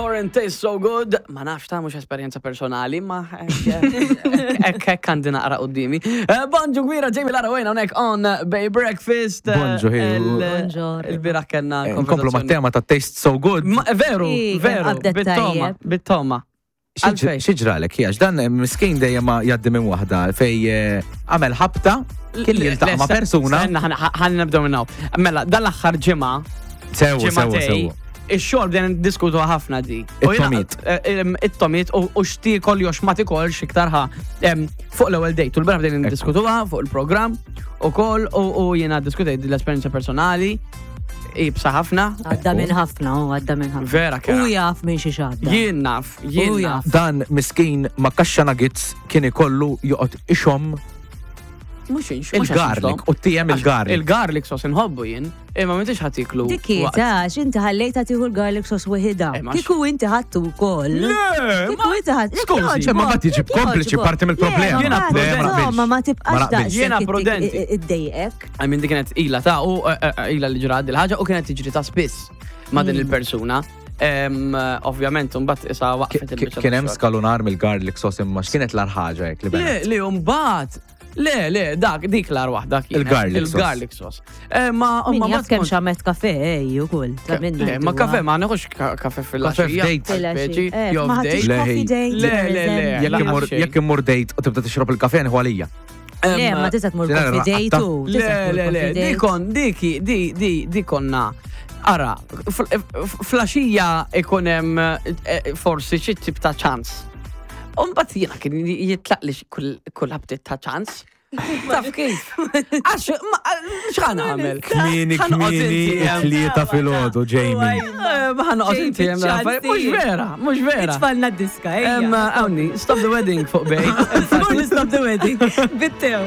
Horan, Tastes So Good. Ma nafx ta' mhux esperjenza personali, ma hekk hekk għandi naqra qudiemi. Eh, Bonġu gwira Jamie Lara Wayne hawnhekk on Bay Breakfast. Eh, Bonġu, ħi. Bonġor. Il-bieraħ kellna Eh, Nkomplu ma' tema ta' Taste So Good. Ma- Veru, Ih, kemm veru, qabdet bit-toma, tajjeb. bit-toma. Għalfejn? Xieġralek, jax, dan eh, miskin dejjem ma jaddi minn waħda fej eh, għamel ħabta, kien jiltaqa' ma' persuna. Stenna, ħan nibdew minn hawn. Mela, dan l-aħħar ġimgħa, Sewa, sewa, ġimgħatej, sewa. ix-xogħol bdejna niddiskutu ħafna di. U jiena- It-tomit. eh, em, It-tomit u x'tiekol jew x'ma tikolx iktar ħa em, fuq l-ewwel date. U l-beraħ bdejna niddiskutuha fuq il-programm ukoll u u jiena ddiskutejt l-esperjenza personali ibsa ħafna. Għadda minn ħafna, u għadda minn ħafna. Vera kera. U jaf minn xi xadda. Jien naf, jien U naf. jaf. Dan miskin ma' kaxxa nuggets kien ikollu joqgħod ixom Mhux inx- mhux għax il-garlic inxom. u tijem il-garlic. Il-garlic sauce inħobbu jien, imma m'intix ħadd tiklu. Dik għax inti ħallejta tieħu l-garlic sauce weħida. Eh, ma Kieku inti ħadtu wkoll. Le, Kieku inti ħadd. Skużi, ma mbagħad jiġi kompliċi parti mill-problema. Jiena prudenti. Ma ma tibqax Ma naqbilx. daqshekk Jiena prudenti. Iddejqek. I mean, di kienet ila ta' u eh, eh, ila li ġrat dil-ħaġa u kienet tiġri ta' spiss ma' din il-persuna. Em, eh, Ovvjament, mbagħad isa waqfet il-biċċa. Kien hemm tax-xogħol. skalunar mill-garlic sauce imma x'kienet l-ar ħaġa hekk li Le, benet. li mbagħad. Le, le, dak, dik l-ar waħda kienet. Il-garlic sauce. Il-garlic sauce. Eh, Ma, Min ma jaf kemm kont- xamet kafe ej ukoll. Ta' minna. Le, ma kafe, ma neħux kafe fil-għaxija. Kafe f'date. Speċi, jew Ma ħadtix f'date. Le, coffee date. Le, per le, le. eżempju. Jekk Lanqas immur xejn. jekk immur date u tibda tixrob il-kafe nieħu għalija. Le, Em, ma tista' tmur Ġenerali, coffee date raqqatta. u. Le, tista' tmur le, le, coffee di date. kon, diki, di, di, di konna. Ara, flaxija ikun hemm eh, forsi xi tip ta' ċans. Umbat jiena kien jitlaq li kull kull ħabtit ta' ċans. Taf kif? Għax, ma- x'ħan għamel? Kmini, kmini, it-tlieta filgħodu, Jamie. Eh, Ma ħanqot inti hemm l-affarijiet. Mhux vera, mhux vera. Tfalna d-diska, Em, ejja. Awni, stop the wedding fuq bej. Stop the wedding. Bittew.